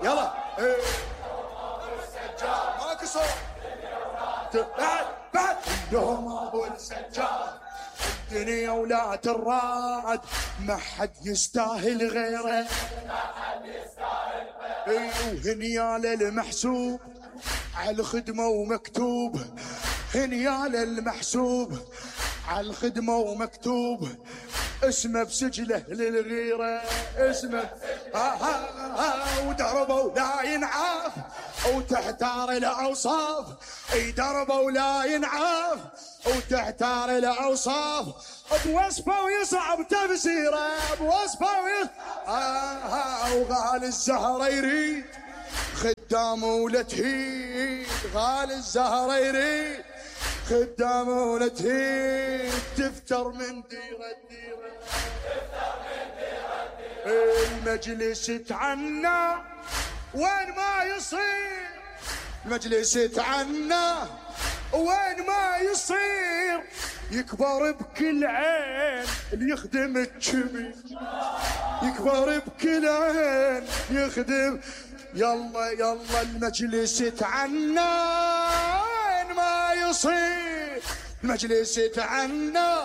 يلا ماكو صوت بعد يوم ابو السجاد الدنيا ولات الراد ما حد يستاهل غيره وهنيال المحسوب على الخدمة ومكتوب هنيال المحسوب على الخدمة ومكتوب اسمه بسجله للغيرة اسمه ودربه لا ينعاف وتحتار الاوصاف دربه ولا ينعاف وتحتار الاوصاف بوصفه ويصعب تفسيره بوصفه وغال الزهره يريد خدامه ولا تهيد غال الزهره يريد خدامه ولا تهيد تفتر من ديره المجلس يتعنى وين ما يصير المجلس يتعنى وين ما يصير يكبر بكل عين اللي يخدم الكبير يكبر بكل عين يخدم يلا المجلس يتعنى وين ما يصير المجلس يتعنى